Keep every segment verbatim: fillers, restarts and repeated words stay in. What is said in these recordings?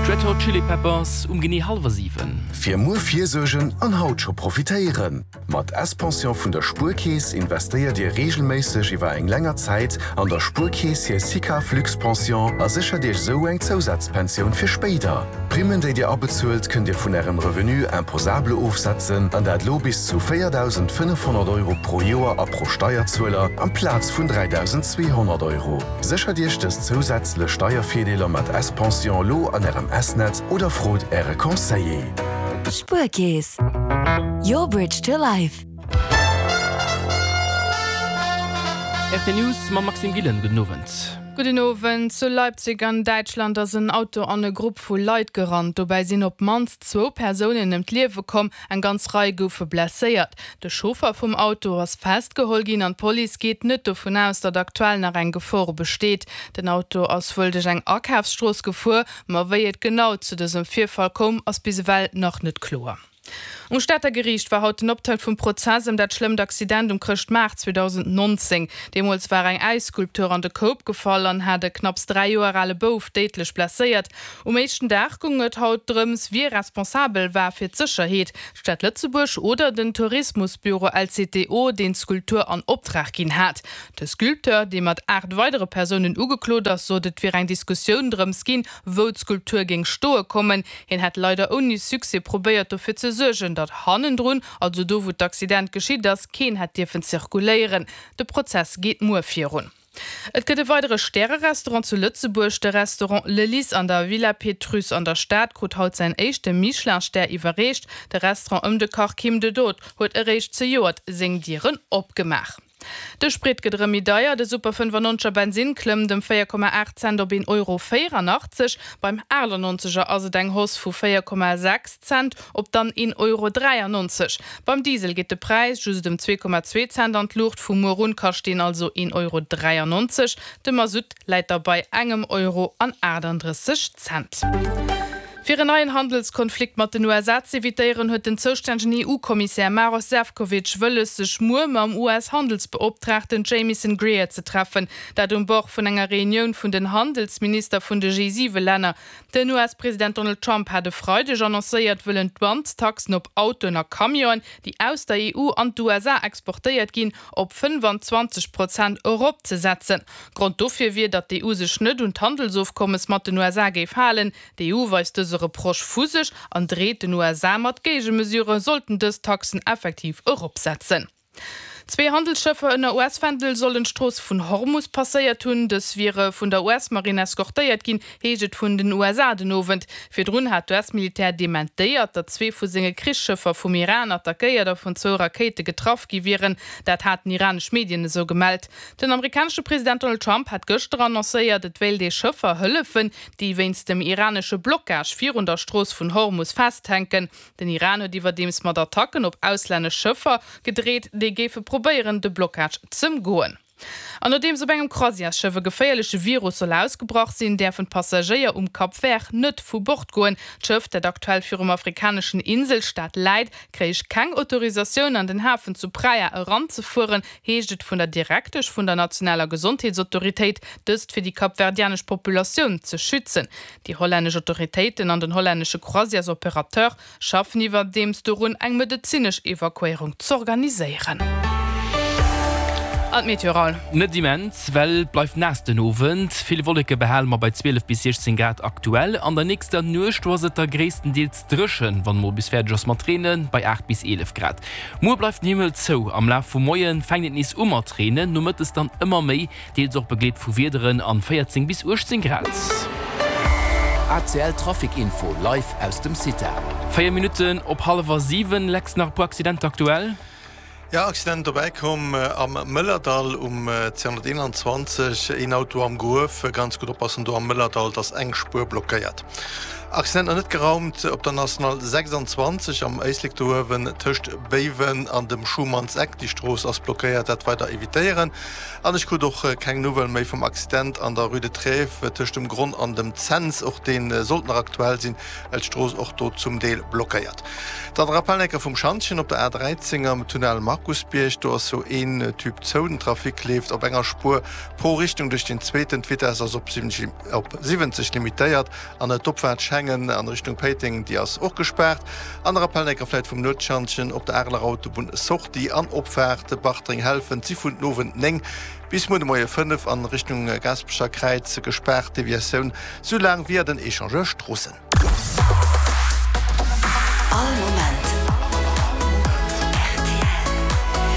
D'Red Hot Chili Peppers um genee hallwer siwen. Fir muer virsuergen an haut scho profitéieren! Mat S-Pension vun der Spuerkeess investéiert Dir reegelméisseg iwwer eng länger Zäit an der Spuerkeess hir SICAV Luxpension a séchert Iech esou eng Zousazpensioun fir spéider. D'Primmen, déi Dir abezuelt, kënnt Dir vun Ärem Revenu imposable ofsetzen, an dat lo bis zu véierdausendfënnefhonnert Euro pro Joer a pro Steierzueler, amplaz vun dräidausendzweehonnert Euro. Séchert Iech dës zousätzlech Steiervirdeeler mat S-Pension lo an Ärem S-Net oder frot Äre Conseiller. Spuerkeess, your bridge to life. R T News mam Maxime Gillen, gudden Owend. Gudden Owend. Zu Leipzig an Däitschland ass en Auto an e Grupp vu Leit gerannt. Dobäi sinn op d'mannst zwou Persounen ëm d'Liewe komm, eng ganz Rei goufe blesséiert. De Chauffer vum Auto ass festgeholl ginn an d'Police geet net dovun aus, datt aktuell nach eng Gefor besteet. Den Auto ass wuel duerch eng Akafsstrooss gefuer, ma wéi et genau zu dësem Virfall koum, ass bis ewell nach net kloer. Um Stater Geriicht war haut den Optakt vum Prozess ëm dat schlëmmt Accident um Chrëschtmaart zweedausendnonzéng. Deemools war eng Äisskulptur an de Koup gefall an hat e knapps dräi Joer ale Bouf déidlech blesséiert. Um éischten Dag goung et haut drëms, wie responsabel war fir d'Sécherheet, d'Stad Lëtzebuerg oder den Tourismusbüro L C T O, deen d'Skulptur an Optrag ginn hat. De Sculpteur, dee mat aacht weidere Persounen ugeklot ass, sot, et wier eng Diskussioun drëms ginn, wou d'Skulptur géing stoe kommen. Hien hätt leider ouni Succès probéiert, dofir ze suergen, datt hannendrun, also do wou d'Accident geschitt ass, keen hätt dierfen zirkuléieren. De Prozess geet muer virun. Et gëtt e weidere Stärerestaurant zu Lëtzebuerg. De Restaurant Le Lys an der Villa Pétrusse an der Stad krut haut säin éischte Michelin-Stär iwwerreecht. De Restaurant ëm de Kach Kim de Dood huet eréischt zejoert seng Dieren opgemaach. De Sprit gëtt erëm méi deier, de Super fënnefannonzeger Bensinn klëmmt ëm véier Komma aacht Cent op een Euro véierannachtzeg, beim aachtannonzeger ass et eng Hausse vu véier Komma sechs Cent op dann een Euro dräiannonzeg. Beim Diesel geet de Präis just ëm zwee Komma zwee Cent an d'Luucht, vu muer un kascht deen also een Euro dräiannonzeg. De Masutt läit da bei engem Euro an aachtandrësseg Cent. Fir en neien Handelskonflikt mat den U S A z'evitéieren, huet den zoustännegen E U-Kommissär Maros Sefcovic wëlles, sech muer mam U S-Handelsbeoptraagten Jamieson Greer ze treffen. Dat um Bord vun enger Reunioun vun den Handelsminister vun de G siwe Länner. Den U S-President Donald Trump hat e Freideg annoncéiert, wëllen d'Douane-Taxen op Autoen a Camionen, déi aus der E U an d'U S A exportéiert ginn, op fënnefanzwanzeg Prozent eropzesetzen. Grond dofir wier, datt d'E U sech net un d'Handelsofkommes mat den U S A géif halen. D'E U weist dëse Reproche vu sech an dreet den U S A mat Géigemesure, sollten dës Taxen effektiv eropsetzen. Zwee Handelsschëffer ënner U S-Fändel sollen d'Strooss vun Hormus passéiert hunn. Dës wiere vun der U S-Marinn eskortéiert ginn, heescht et vun den U S A den Owend. Virdrun hat d'U S-Militär dementéiert, datt zwee vu senge Krichsschëffer vum Iran attackéiert a vun zwou Rakéite getraff gi wieren. Dat haten iranesch Medien esou gemellt. Den amerikanesche President Donald Trump hat gëschter annoncéiert, et wéilt ee Schëffer hëllefen, déi wéinst dem iranesche Blockage virun der Strooss vun Hormus festhänken. Den Iran huet iwwerdeems mat Attacken op auslännesch Schëffer gedreet, déi géife probéieren, de Blockage z'ëmgoen. An nodeems op engem Croisièresschëff e geféierleche Virus soll ausgebrach sinn, däerfen d'Passagéier um Cap Vert net vu Bord goen. D'Schëff, dat aktuell virum afrikaneschen Inselstaat läit, kréich keng Autorisatioun an den Hafen zu Praia eranzefueren, heescht et vun der Direktesch vun der nationaler Gesondheetsautoritéit, dëst fir déi kapverdianesch Populatioun ze schützen. Déi hollännesch Autoritéiten an den hollännesche Croisièresoperateur schaffen iwwerdeems dorun, eng medezinesch Evakuéierung z'organiséieren. An d'Meteo, Raoul. Net immens, well et bleift naass den Owend. Vill Wolleke behale mer bei zwielef bis siechzéng Grad aktuell. An der nächster Nuecht do ass et da gréisstendeels dréchen, wann mol bis fäerdeg ass mat Reenen, bei aacht bis eelef Grad. Muer bleift den Himmel zou, am Laf vum Moie fänkt et nees u mat reenen, nomëttes dann ëmmer méi, deels och begleet vu Wiederen an véierzéng bis uechtzéng Grad. A C L Trafic Info live aus dem CITA. Véier Minutten op hallwer siwen, Lex, nach e puer Accidenter aktuell? Ja, Accident dobäi komm am Mëllerdall um zweehonnerteenanzwanzeg, een Auto am Gruef. Ganz gutt oppassen do am Mëllerdall, et ass eng Spuer blockéiert. Accident nach net geraumt op der National sechsanzwanzeg am Éislek do uewen tëscht Béiwen an dem Schumannseck. Déi Strooss ass blockéiert, dat weider evitéieren. An ech krut och keng Nouvelle méi vum Accident an der Rue de Trèves tëscht dem Gronn an dem Cents. Och dee sollt nach aktuell sinn, well d'Strooss och do zum Deel blockéiert. Dann de Rappel enker vum Schantjen op der A dräizéng am Tunnel Markusbierg. Do ass sou een Tube zou, den Trafic leeft op enger Spuer pro Richtung duerch den zweeten. D'Vitess ass op siwwenzeg limitéiert an d'Opfaart schengt. Schengen an Richtung Péiteng, déi ass och gespaart. An de Rappel enker vläit vum Nuetschantjen op der Areler Autobunn, Sortie an Opfaart Bartreng-Helfent si vun den Owend néng bis muer de Moie fënnef an Richtung Gaasperecher Kräiz gespaart, Deviatioun sou laang via den Echangeur Stroossen. All Moment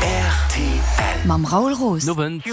rtl. Mam Raoul Roos. Nowend.